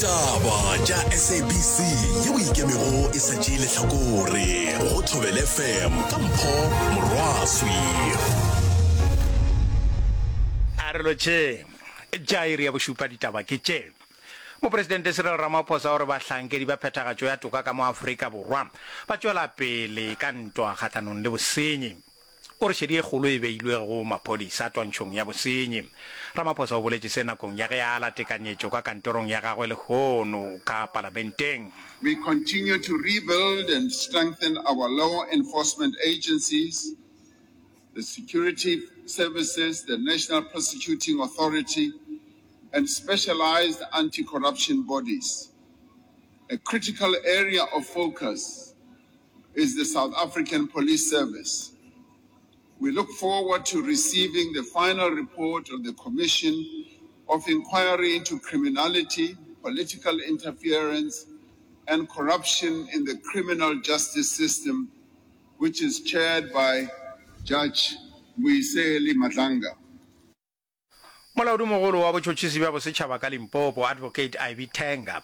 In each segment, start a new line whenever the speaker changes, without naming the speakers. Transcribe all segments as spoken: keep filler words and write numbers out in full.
Ditaba tša S A B C yeo e ikemego e sa tšee lehlakore go Thobela F M ka Mpho Morwaswi.
A re lotšheng. Tša iri ya bošupa ditaba ke tše. Mopresidente Cyril Ramaphosa o re bahlankedi ba phethagatšo ya toka ka mo Afrika Borwa ba tšwela pele ka ntwa kgahlanong le bosenyi. O re šedi e kgolo e beilwe go maphodisa twantšhong ya bosenyi. Ramaphosa o boletše se nakong ya ge a ala tekanyetšo ka kantorong ya gagwe lehono ka palamenteng.
We continue to rebuild and strengthen our law enforcement agencies, the security services, the National Prosecuting Authority, and specialized anti-corruption bodies. A critical area of focus is the South African Police Service. We look forward to receiving the final report of the Commission of Inquiry into Criminality, Political Interference and Corruption in the Criminal Justice System, which is chaired by Judge Mbuyiseli Madlanga.
Molaodimogolo wa Botšhotšhisi bja Bosetšhaba ka Limpopo, Advocate Ivy Thenga,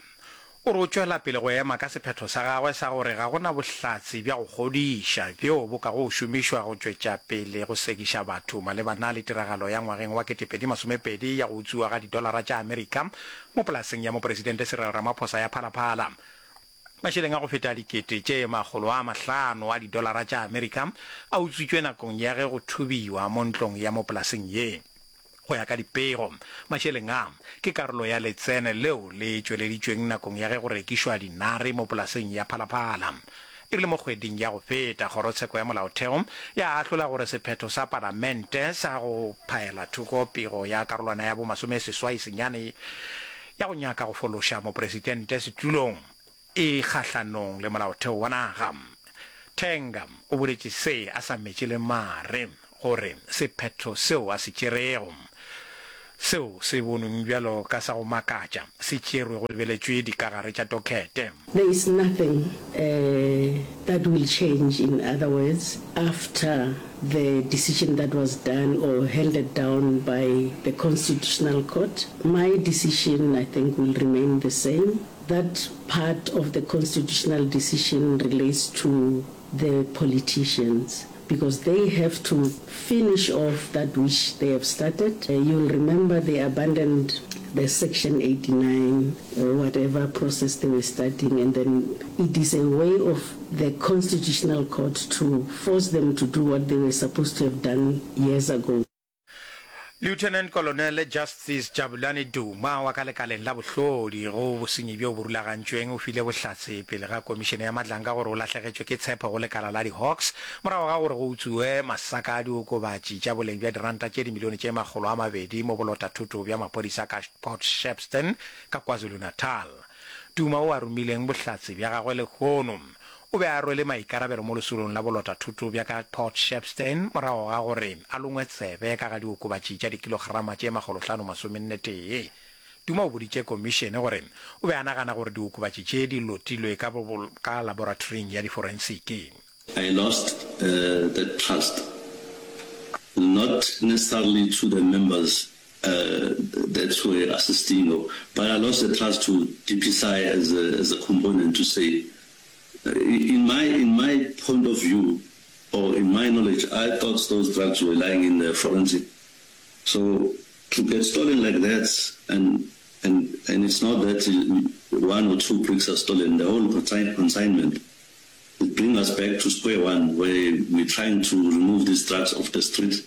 o re o tšwela pele go ema ka sephetho sa gagwe sa gore ga go na bohlatse bja go kgodiša bjo bo kago šomišwa go tšwetša pele go sekiša batho malebana le tiragalo ya ngwageng wa ketepedi masomepedi ya go utswiwa ga didolara tša Amerika mo polaseng ya Mopresidente Cyril Ramaphosa ya Phala Phala. Mašeleng a go feta dikete tše makgolo a mahlano a didolara tša Amerika a utswitšwe nakong ya ge go thubiwa mo ntlong ya mo polaseng ye. Go ya ka dipego, mašeleng a ke karolo ya letseno leo le tšweleditšweng nakong ya ge go rekišwa dinare mo polaseng ya Phala Phala. E rile mo kgweding ya go feta, Kgorotsheko ya Molaotheo ya ahlola gore sephetho sa Palamente sa go phaela thoko pego ya karolwana ya bomasomeseswai senyane ya go nyaka go fološa mopresidente setulong e kgahlanong le molaotheo wa naga. Thenga o boletše se a sa metše le mare gore sephetho seo a se tšerego, seo se bonweng bjalo ka sa go makatša, se tšerwe go lebeletšwe dikagare tša dokete.
There is nothing uh, that will change, in other words, after the decision that was done or handed down by the Constitutional Court. My decision, I think, will remain the same. That part of the constitutional decision relates to the politicians because they have to finish off that which they have started. Uh, you'll remember they abandoned the Section eighty-nine or whatever process they were starting, and then it is a way of the Constitutional Court to force them to do what they were supposed to have done years ago.
Lieutenant Colonel Justice Jabulani Duma wa ka lekaleng la bohlodi go bosenyi bjo bo rulagantšweng o file bohlatse pele ga komišene ya Madlanga gore o lahlegetšwe ke tshepo go lekala la di-Hawks morago ga gore go utsuwe masaka a diokobatši tša boleng bja diranta tše dimilione tše makgolo a mabedi mo bolotathoto bja maphodisa ka Port Shepstone ka KwaZulu-Natal. Duma o a romileng bohlatse bja gagwe lehono o be a rwele maikarabelo mo lesolong la bolotathoto bja ka Port Shepstone morago ga gore a longwe tsebe ka ga diokobatši tša dikilograma tše makgolohlano masomenne tee. Duma o boditše komišene gore o be a nagana gore diokobatši tše di lotilwe ka, ka laboratoring ya diforensiki.
I lost uh, the trust, not necessarily to the members uh, that were assisting, but I lost the trust to D P S I as a, as a component to say, uh, in my in my point of view, or in my knowledge, I thought those drugs were lying in the forensic. So to get stolen like that, and and and it's not that one or two bricks are stolen, the whole consign, consignment, it brings us back to square one, where we're trying to remove these drugs off the street,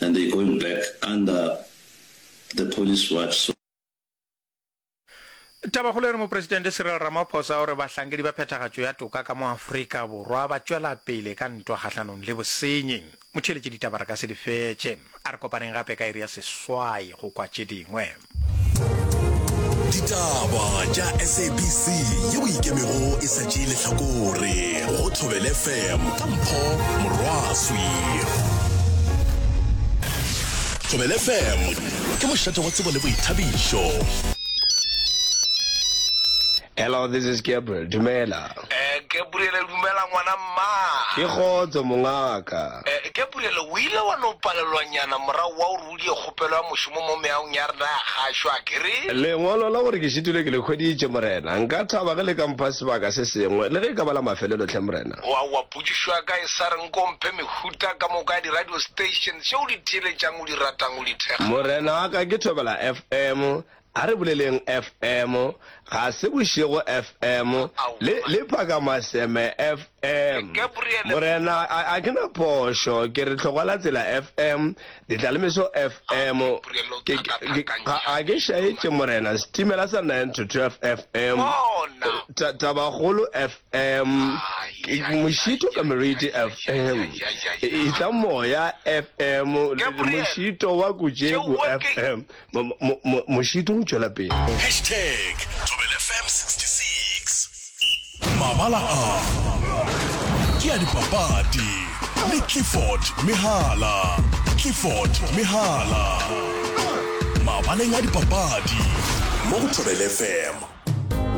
and they're going back under the police watch. So
Tabakgolo e re Mopresidente Cyril Ramaphosa o re bahlankedi ba phethagatšo ya toka ka mo Afrika Borwa ba tšwela pele ka ntwa kgahlanong le bosenyi. Motheeletši, ditaba re ka se di fetše. A re kopaneng gape ka iri ya seswai go kwa tše dingwe.
Ditaba tša S A B C yeo e ikemego e sa tšee lehlakore go Thobela F M ka Mpho Morwaswi. Thobela F M ke mošate wa tsebo le boithabišo.
Hello, this is Gabriel. Dumela.
Eh,
Gabriel dumela ngwana mma.
Ke kgotso mongaka.
Eh, Gabriel o ile wa no palelwanyana morago wa gore o die kgopelo ya mošomo mo meagong ya rena ya kgašo a kere?
Lengwalo la gore ke šitilwe ke le hweditše morena. Nka thaba ge le ka mpha sebaka se sengwe le ge e ka ba la mafelelo hle morena.
Aowa, potšišo ya ka e sa re nko mphe mehuta ka moka ya di-radio station tše o di theeletšang, o di ratang, o di thekgang.
Morena wa ka ke Thobela F M, A re boleleng F M, Ga se bošego F M, le, le Phakamaseme F M. Morena, a, a ke na phošo, ke re Hlogwalatsela F M, Ditlalemeso F M, ke, ke, ga, ga ke šaetše, Morena, Setimela sa nine to twelve F M, ta, Tabakgolo F M, ke, Mošito ka Meriti F M, Etla Moya F M, Mošito wa Kutšeku F M. Mošito o tšwela pele.
Hashtag Thobela F M sixty six Mabala a ke a dipapadi le Clifford Mehala. Clifford Mehala. Mabaleng a dipapadi mo go Thobela F M.